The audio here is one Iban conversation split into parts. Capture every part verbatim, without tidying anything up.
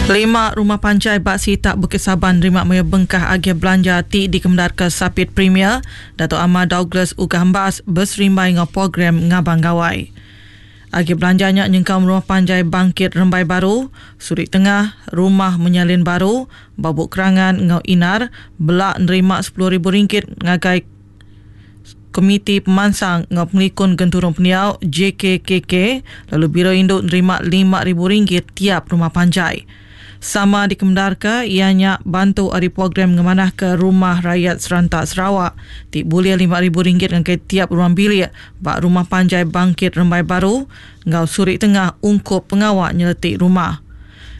Lima rumah panjai ba sitak Bukit Saban nerima mayuh bengkah agih belanja ti dikemendarka Sapit Premier Datuk Amar Douglas Uggah Embas beserimbai enggau program Ngabang Gawai. Agih belanja nya nyengkaum rumah panjai Bangkit Rembai Baru, Surik Tengah, Rumah Menyalin Baru, Babuk Kerangan enggau Inar bela nerima sepuluh ribu ringgit ngagai Komiti Pemansang enggau Pengelikun Genturung Pendiau J K K K lalu Biro Indu nerima lima ribu ringgit tiap rumah panjai. Sama dikemendarka iya nya bantu ari program ngemanahka Rumah Rakyat Serentak Sarawak ti bulih lima ribu ringgit ngagai tiap ruang bilik ba Rumah Panjai Bangkit Rembai Baru enggau Surik Tengah ungkup pengawa nyeletik rumah.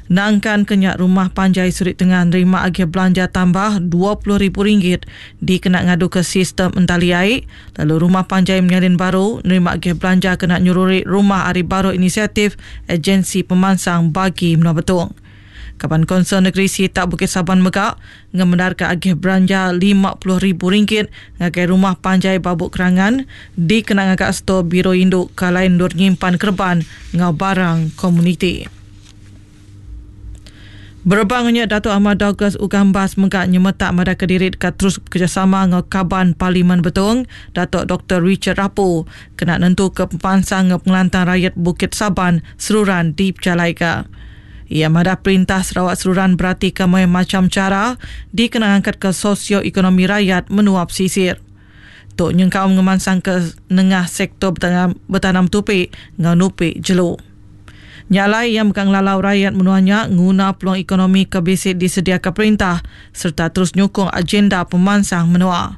Nangkan ke nya, Rumah Panjai Surik Tengah nerima agih belanja tambah dua puluh ribu ringgit dikena ngaduka sistem entali ai, lalu Rumah Panjai Menyalin Baru nerima agih belanja kena nyeruri rumah ari baruh inisiatif Agensi Pemansang Bagi Menua Betong. Kaban Konsel Negeri Sitak Bukit Saban mega ngemendarka agih belanja lima puluh ribu ringgit ngagai Rumah Panjai Babuk Kerangan dikena ngaga stor Biro Indu ke alai endur nyimpan kereban enggau barang komuniti. Berebak nya, Datuk Amar Douglas Uggah Embas mega nyemetak madahka diri deka terus bekerjasama enggau Kaban Parlimen Betong, Datuk Doktor Richard Rapu, kena nentuka pemansang enggau pengelantang rakyat Bukit Saban seruran dipejalaika. Ia madah perintah Sarawak seruran beratika mayuh macam cara dikena ngangkatka sosioekonomi rakyat menua pesisir. Tu nyengkaum ngemansang ke nengah sektor betanam, betanam tupi enggau nupi jelu. Nya alai ia mega ngelalau rakyat menua nya nguna peluang ekonomi ke bisi disediaka perintah serta terus nyukung agenda pemansang menua.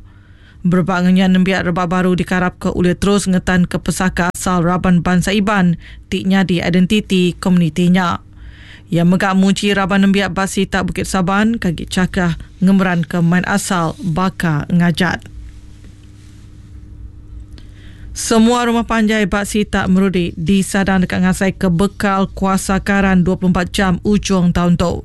Berebak ngenya nembiak rebak baru dikarapka ulih terus ngetan ke pesaka asal raban bangsa Iban ti nyadi identiti komuniti nya. Ia mega muji raban nembiak ba sitak Bukit Saban kagi cakah ngemeran ke main asal baka ngajat. Semua rumah panjai ba sitak Merudi disadang dekat ngasai ke bekal kuasa karan dua puluh empat jam ujung tahun tu.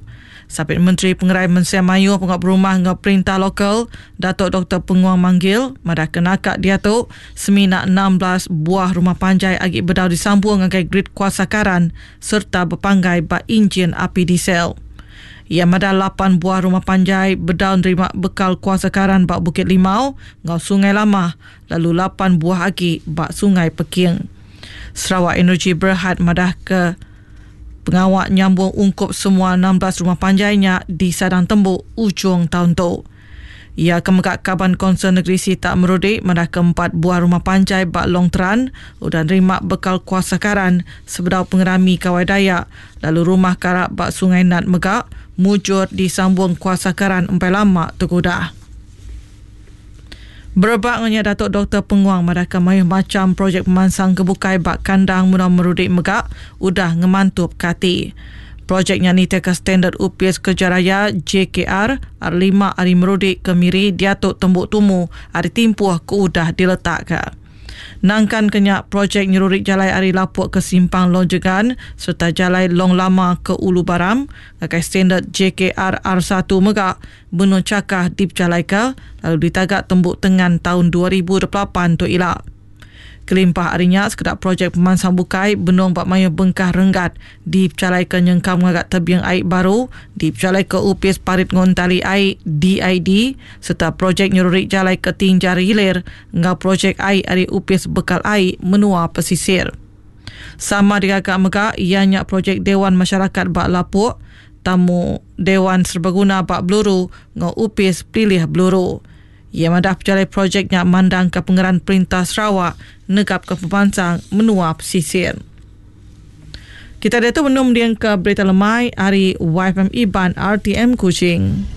Sapit Menteri Pengerai Mensia Mayuh Pengawal Berumah enggau Perintah Lokal, Datuk Doktor Penguang Manggil, madah kenaka dia tu semina enam belas buah rumah panjai agi bedau disambung ngagai grid kuasa karan serta berpanggai ba enjin api diesel. Ia madah lapan buah rumah panjai bedau nerima bekal kuasa karan ba Bukit Limau enggau Sungai Lamah, lalu lapan buah agi ba Sungai Peking. Sarawak Energy Berhad madah ke pengawak nyambung ungkup semua enam belas rumah panjainya di Sadang Tembuk ujung tahun tu. Ia kemegak Kaban Konsel Negeri Sitak Merudi madah keempat buah rumah panjai ba Long Teran udah nerima bekal kuasa karan sebedau pengerami Kawai Dayak, lalu rumah karak ba Sungai Nat mega mujur disambung kuasa karan empai lama tergudah. Berebak ngenya Datuk Doktor Penguang madah ke mayuh macam projek pemansang kebukai ba kandang menua Merudi mega udah ngemantup kati. Projeknya nitih ke standard U P S Kerja Raya J K R R lima ari Merudi ke Miri diatu tembuk tumu ari timpuh ke udah diletakka. Nangkan kenya projek nyerurik jalai ari Lapuk ke Simpang Long Jegan serta jalai Long Lama ke Ulu Baram ngagai standard J K R R satu mega benung cakah dipejalaika lalu ditagak tembuk tengan tahun dua ribu dua puluh lapan tu ila. Kelimpah harinya sekedar projek pemansang bukai benung bak mayuh bengkah renggat dipejalaika nyengkam ngagak tebiang air baru dipejalaika U P S Parit Ngontali Air D I D serta projek nyerurik jalai ke Tinjar Hilir enggau projek air ari U P S Bekal Air Menua Pesisir. Sama digagak mega ianya projek Dewan Masyarakat Bak Lapuk, Tamu Dewan Serbaguna Bak Beluru enggau U P S Pilih Beluru. Ia madah pejalai projeknya mandang ke pengeran Perintah Sarawak negap ke pemansang menua pesisir. Kita dia tu menum dia ke berita lemai hari Y F M Iban R T M Kuching.